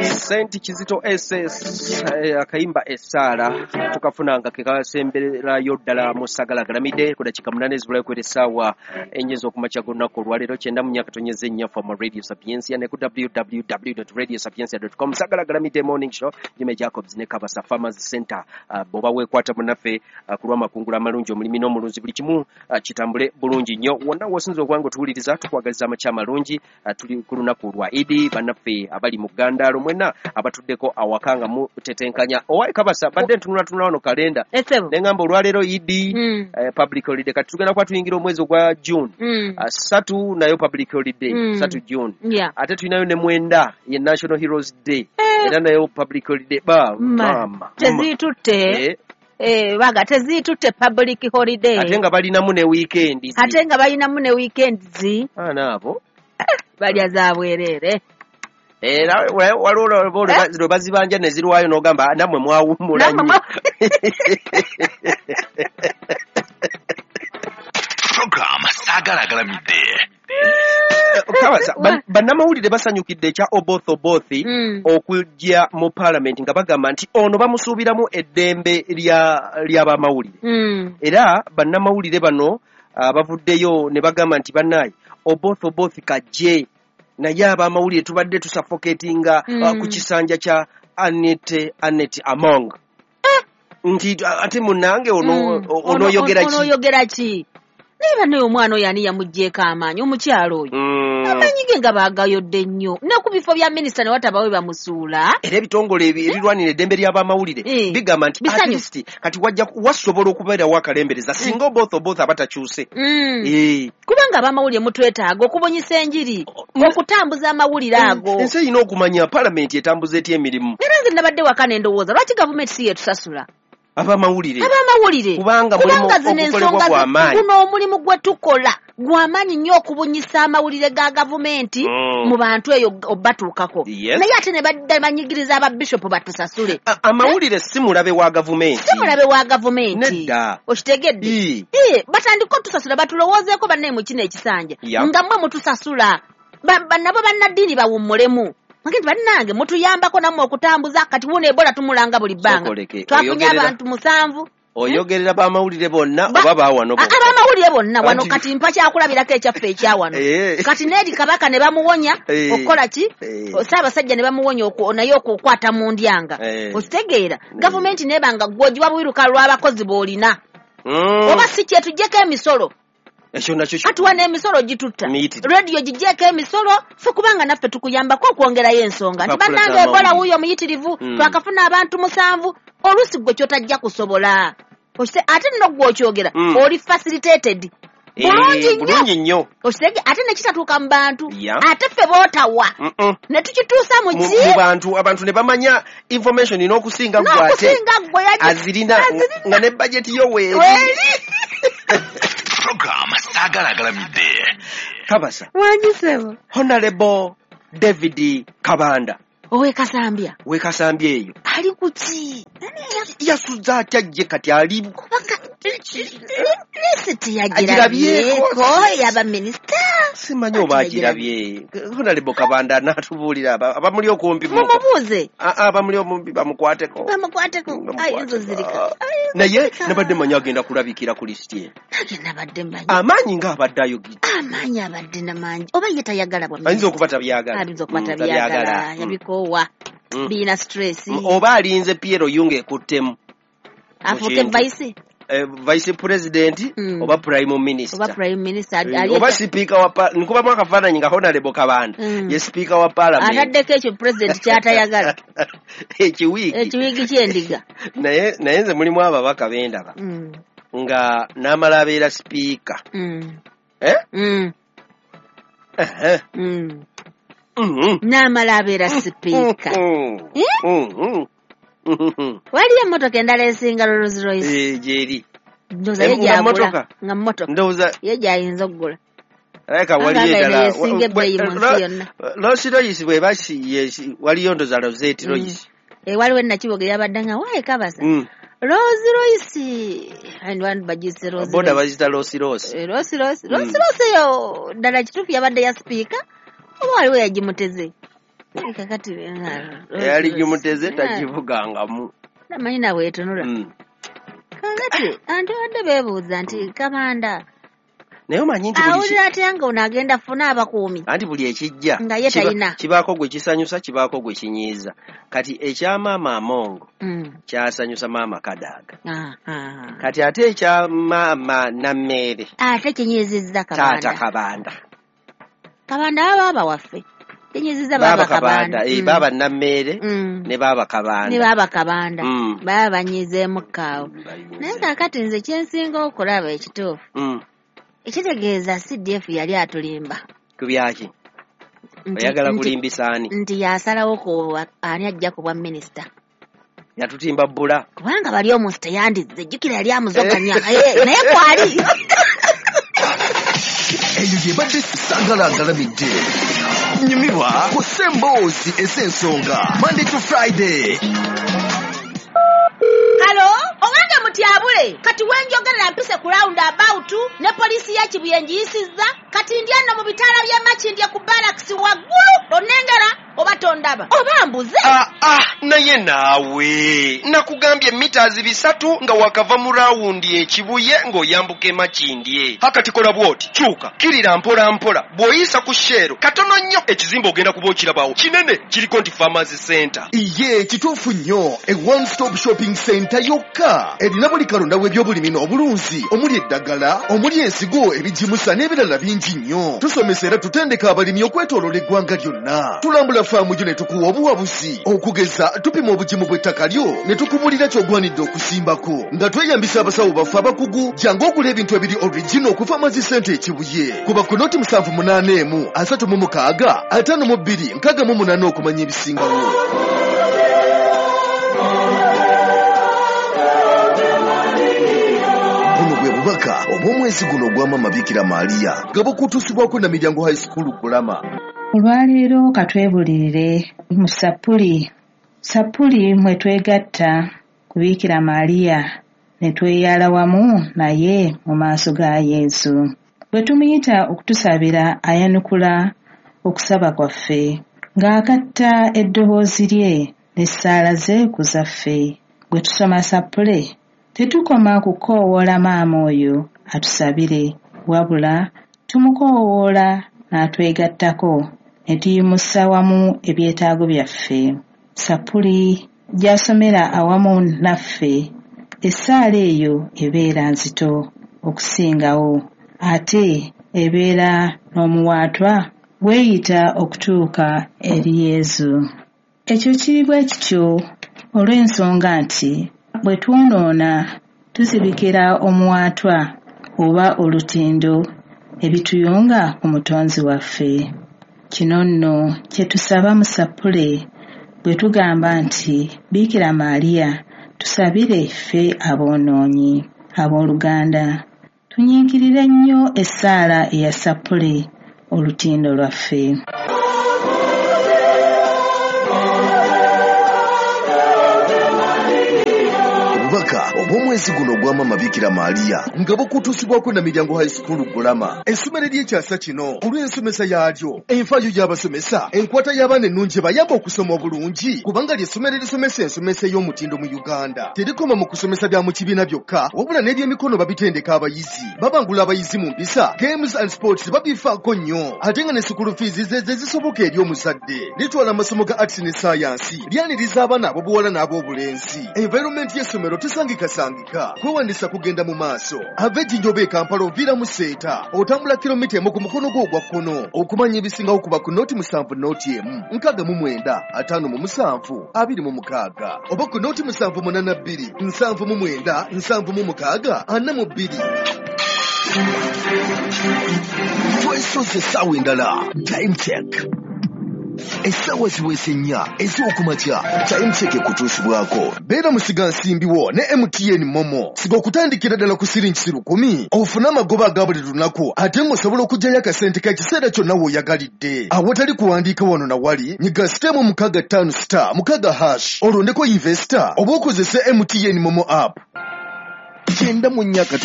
Saint Kizito SS akayimba essaala tukafunanga ke kasemberayo ddala mu Sagala Galamidde ku dakiika 8 ezibulayo kwera essaawa 4 ez'okumakya g'olunaku olwaleero 94.4 Fama Radio Sapientia ne ku www.radiosapientia.com. Sagala Galamidde Morning Show, Jimmy Jacobs ne Kabasa Farmers Center. Bw'oba weekwata munnaffe ku lw'amakungula amalungi, omulimi n'omulunzi, buli kimu kitambule bulungi nnyo. Wonna w'osinza okuba nga otuwuliriza, tukwagaliza amakya amalungi. Tuli ku lunaku lwa Idi, bannaffe abali mu Ggandaalo mwenna abatuddeko awaka nga mutetenkanya. Owaye Kabasa, badde ntunulatunula wano kalenda ne ŋŋamba olwaleero Idi, public holiday. Kati tugenda kuba tuyingira omwezi ogwa June, 3 nayo public holiday, 3 June. Ate tulinayo ne 9 ye National Heroes Day, era nayo public holiday. Ba mama tezitutte baga tezitutte public holiday, ate nga balinamu ne weekend, ate nga balinamu ne weekends. Ana abo balya za bwerere. Era waliwo lwe bazibanja ne zirwayo n'ogamba nammwe mwawummula nnyo. Program Sagala Galamidde. Bannamawulire basanyukidde ekya Oboth Oboth okujja mu paalamenti nga bagamba nti ono bamusuubiramu eddembe ly'abamawulire. Era bannamawulire bano bavuddeyo ne bagamba nti bannaye Oboth Oboth kajje, naye abamawulire tubadde tusuffocatinga ku kisanja kya Annet Among. Nti ate munnange onooyogera ki? Onooyogera ki? Naye bannaye omwana oyo ani yamuggyeeko amaanyi, omukyalo oyo? Amaanyi ge nga baagayodde nnyo. Ne ku bifo bya minisita ne watabawe bamusuula. Era ebitongole ebirwanira eddembe ly'abamawulire bigamba nti at least kati wajja wasobola okubeerawo akalembereza singa Oboth Oboth aba takyuse. Kubanga abamawulire mutwetaaga okubunyisa enjiri, okutambuza amawulire ago. Ensi erina okumanya paalamenti etambuza etya emirimu. Era nze nabadde waka ne ndowooza lwaki gavumenti si yeetusasula? Abamawulire. Abamawulire. Kubanga mulimu ogukolebwa gwa maanyi. Guno omulimu gwe tukola gwa maanyi nnyo okubunyisa amawulire ga gavumenti mu bantu eyo obatuukako. Naye ate ne badda banyigiriza ababishopu batusasule. Amawulire si mulabe wa gavumenti. Si mulabe wa gavumenti. Nedda. Okitegedde? Batandika otusasula, batulowoozeeko bannaye mu kino ekisanja. Nga mmwe mutusasula. Nabo bannaddiini bawummulemu. Nti bannange mutuyambako nammwe okutambuza, kati wuno Ebola tumulanga buli bbanga. Twafunye abantu 7. Oyogerera bamawulire bonna oba baawano bonna? Abamawulire bonna wano kati mpa kyakulabirako ekyaffe ekyawano. Kati n'eri Kabaka ne bamuwonya okukola ki? Ssaabasajja ne bamuwonya naye okukwata mu ndyanga. Okitegeera? Gavumenti n'ebanga ggwe ogiwa bwiruka lw'abakozi b'olina. Oba si kye tuggyeko emisolo. Ekyo nakyo Atuwa n'emisolo gitutta. Rediyo giggyeko emisolo, ffe kubanga naffe tukuyambako okwongerayo ensonga. Nti bannange Ebola wuuyo muyitirivu, twakafuna abantu 7, oluusi ggwe ky'otajja kusobola. Ate nno ggwe okyogera, oli facilitated. Bulungi nnyo. Okitege, ate ne kitatuuka mu bantu. Ate ffe bootawa. Ne tukituusa mu ki? Mu bantu, abantu ne bamanya information n'okusinga ggwe ate. N'okusinga ggwe azirina nga ne budget yo weeri. Program Sagala Galamidde. Kabasa. Wangisebo. Honorable David Kabanda. Owe Kasambya. We Kasambya eyo. Ali kuki? Yasuza atya gye kati ali lisiti yagirabyeko yaba minisita. Simanyi oba agirabye. Honorable Kabanda n'atubuulira abamuli okumpi. Mumubuuze. Abamuli okumpi bamukwateko. Bamukwateko. Ayinza ozirika. Naye nabadde mmanyi agenda kulabikira ku lisiti eno. Nange nabadde mmanyi. Amaanyi ng'abadde ayogedde. Amaanyi abadde namangi. Oba ye tayagala bwa minisita. Ayinza okuba tabyagala. Ayinza okuba tabyagala. Yabikoowa. Biyina stress. Oba alinze Pierre Oyunga ekuttemu. Afuuke vice. Vice president oba prime minister. Oba prime minister. Oba speaker wa nkubamu akafaananyi nga Honorable Kabanda ye speaker wa parliament. Ataddeko ekyo president ky'atayagala. Ekiwiigi. Ekiwiigi ky'endiga. Naye nze mulimu ababaka bendaba. Nga n'amala abeera speaker. N'amala abeera speaker. Waliyo emmotoka endala esinga Rolls Royce. Gyeri. Ndowooza ye gy'agula. Nga mmotoka. Ndowooza ye gy'ayinza okugula. Alabika waliyo endala. Esinga ebbeeyi mu nsi yonna. Rolls Royce bw'eba waliyo ndowooza Rosette Royce. Waliwo Nakiboga eyabadde nga waaye Kabasa. Rolls Royce. And bagiyise Rolls Royce. Boda bagiyita Rolls Royce. Rolls Royce. Rolls Royce eyo ddala kituufu yabadde ya sipiika oba waliwo yagimuteze? Kakati Eyali gimuteze tagivugangamu. Namanyi nawe etunula. Kakati anti badde beebuuza nti Kabanda Naye omanyi nti buli awulira atya nga ono agenda funa abakuumi. Anti buli ekijja Nga ye talina. Kibaako gwe kisanyusa, kibaako gwe kinyiiza. Kati ekya maama Amongo kyasanyusa maama Kadaga. Kati ate ekya maama Nammeere Ate kinyiizizza Kabanda. Taata Kabanda. Kabanda baaba waffe. Kinyiizizza baaba Kabanda. Baaba Nammeere ne baaba Kabanda. Ne baaba Kabanda. Baba banyiizeemu kaawo. Naye kaakati nze kyensinga okulaba ekituufu. Ekitegeeza CDF yali atulimba. Ku byaki? Oyagala kulimbisa ani? Nti yasalawo ku ani ajja ku bwa minisita. Yatutimba bbula. Kubanga bali omunsi teyandizze, jjukira yali amuzoganya. Naye kwali. Eyo yebadde Saagala Agalamidde. Nyumirwa ku Ssemboozi ez'ensonga Monday to Friday. Halo, owange mutyabule. Kati wenjogerera mpise ku round about ne poliisi ya Kibuye ngiyisizza. Kati ndi eno mu bitaala by'e Makindye ku barracks waggulu. Onnengera oba tondaba oba mbuze. Naye naawe nakugambye mita 300 nga wakava mu rawundi e Kibuye ng'oyambuka e Makindye. Hakati kola bw'oti, kyuka kirira mpola mpola, bw'oyisa ku Shell katono nnyo ekizimbe ogenda kuba okirabawo kinene kiriko nti Farmers Center. Iye kituufu nnyo, e one stop shopping center yokka erina buli kalonda w'ebyobulimi n'obulunzi omuli eddagala, omuli ensigo, ebigimusa n'ebirala bingi nnyo. Tusomesa era tutendeka abalimi okwetooloola eggwanga lyonna. Tulambula faamu yo ne tukuwa obuwabuzi. Okugeza tupima obugimu bw'ettaka lyo ne tukubulira ky'ogwanidde okusimbako. Nga tweyambisa abasawo baffe abakugu, jangu ogula ebintu ebiri original ku Farmers Center e Kibuye. Kuba ku noti 781 36 52 68 okumanya ebisingawo. Buno bwe bubaka obw'omwezi guno ogwa Maama Bikira Maria nga bukutuusibwako Namiryango High School Kulama. Olwaleero katwebulirire mu Sappuli. Sappuli mwe twegatta ku Bikira Maria ne tweyala wamu naye mu maaso ga Yesu. Bwe tumuyita okutusabira ayanukula okusaba kwaffe ng'agatta eddoboozi lye n'essaala ze ku zaffe. Bwe tusoma Sappule tetukoma kukoowoola maama oyo atusabire, wabula tumukoowoola n'atwegattako ne tuyimusa wamu ebyetaago byaffe. Sappuli gy'asomera awamu naffe, essaala eyo ebeera nzito okusingawo, ate ebeera n'omuwaatwa weeyita okutuuka eri Yesu. Ekyo kiri bwe kityo olw'ensonga nti bwe twonoona tuzibikira omuwaatwa oba olutindo ebituyunga ku Mutonzi waffe. Kino nno kye tusaba mu Sappule bwe tugamba nti Bikira Maria tusabire ffe aboonoonyi. Abooluganda, tunyiikirire nnyo essaala eya Sappule olutindo lwaffe. Obubaka obw'omwezi guno ogwa Maama Bikira Maria nga bukutuusibwako Namiryango High School Kulama. Essomero ery'ekyasa kino olw'ensomesa yaalyo, enfaayo y'abasomesa, enkwata y'abaana ennungi bayamba okusoma obulungi, kubanga ly'essomero erisomesa ensomesa ey'omutindo mu Uganda. Terikoma mu kusomesa bya mu kibiina byokka, wabula n'ebyemikono babitendeka abayizi. Babangula abayizi mu mpisa, games and sports babifaako nnyo, ate nga ne school fees ze zisoboka eri omuzadde. Litwala amasomo ga arts ne science, lyaniriza abaana ab'obuwala n'ab'obulenzi. Environment y'essomero tesangikasangika. Kwewandisa kugenda mu maaso. Ava Ejjinja oba e Kampala oviira mu Seeta, otambula kilomita 1 ku mukono gwo ogwa kkono. Okumanya ebisingawo kuba ku noti 7 noti 1 69 57 26 oba ku noti 782 79 76 42. Twesoze essaawa endala. Time check. Essaawa ziweze 4 ez'okumakya. Time check ekutuusibwako. Beera musigansimbi wo ne MTN Momo. Siga okutandikira ddala ku siringi 10,000 ofune amagoba aga buli lunaku, ate ng'osobola okuggyayo akasente k'ekiseera kyonna w'oyagalidde. Awatali kuwandiika wano na wali, nyiga *656*6# olondeko investor oba okozese MTN Momo app. 94.